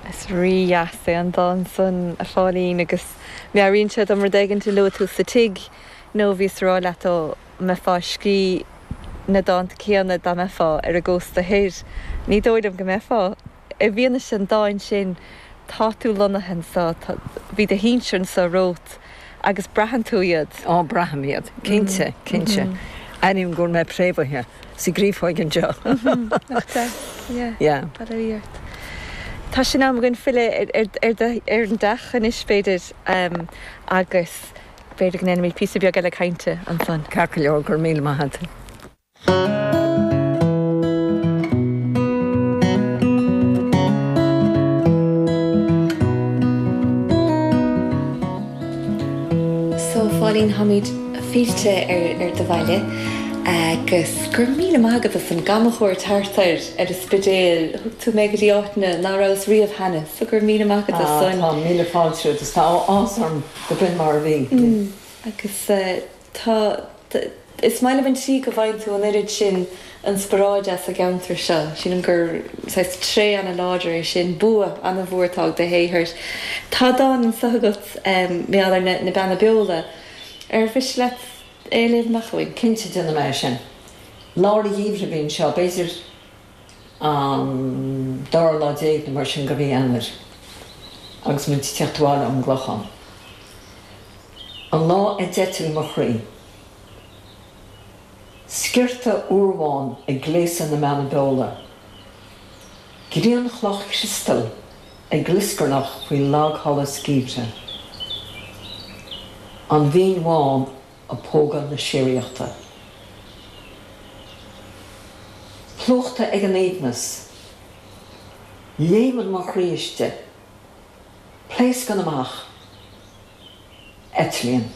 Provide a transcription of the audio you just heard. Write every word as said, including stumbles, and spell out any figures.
Is rí-dheas é an dán san, a Phóilín, agus meabhraíonn sé dom rud éigin a luaigh tú sa tigh nó bhíos ag rá leat an mbeifeá ag scríobh na dánta céanna dá mbeifeá ar an gcósta thoir. Ní dóigh liom go mbeifeá. I bhfianaise an dáin sin, tá tú lonnaithe anseo, bhí do shinsir anseo romhat agus braitheann tú iad. Á, braithim iad, cinnte, cinnte. Airím go bhfuil mé préamhaithe sa gcreafóig anseo. Nach deas, yeah. Bail ó Dhia ort. Tá sé in am againn filleadh ar an dteach anois, b'fhéidir, agus b'fhéidir go ndéanfaimid píosa beag eile cainte ansan. Ceart go leor, go raibh míle maith agat. So, a Phóilín, táimid fillte ar do bhaile agus go raibh míle maith agat as an gcamchuairt thart ar ar an Spidéal. Thug tú mé go dtí áiteanna ná rabhas riamh cheana, so go raibh míle maith agat as san. Tá míle fáilte romhat, tá áthas orm go b'in mar a bhí. Agus tá. Is maith liom an tslí go bhfaigheann tú an oiread sin inspioráide as an gceantar seo. Sílim gur saghas tréith ana-láidir é sin, bua ana-mhór atá ag do shaothar. Tá dán anseo agat mar gheall ar na Beanna Beola. Ar mhiste leat é a léamh amach dhúinn? Cinnte, déanfaidh mé é sin. Lár an gheimhridh a bhí anseo, b'fhéidir an dara lá déag nó mar sin de mhí Eanáir, agus muid ag teacht abhaile ón gClochán. An lá a d'eitil mo chroí. Sciorta úrbhán ag gléasadh na mBeanna Beola. Grianchloch chriostail ag glioscarnach faoi lagsholas geimhridh. An Mhín Bhán ag pógadh na síoraíochta. Plúchta ag an aoibhneas. Léimeann mo chroí istigh. Pléascann amach. Eitlíonn.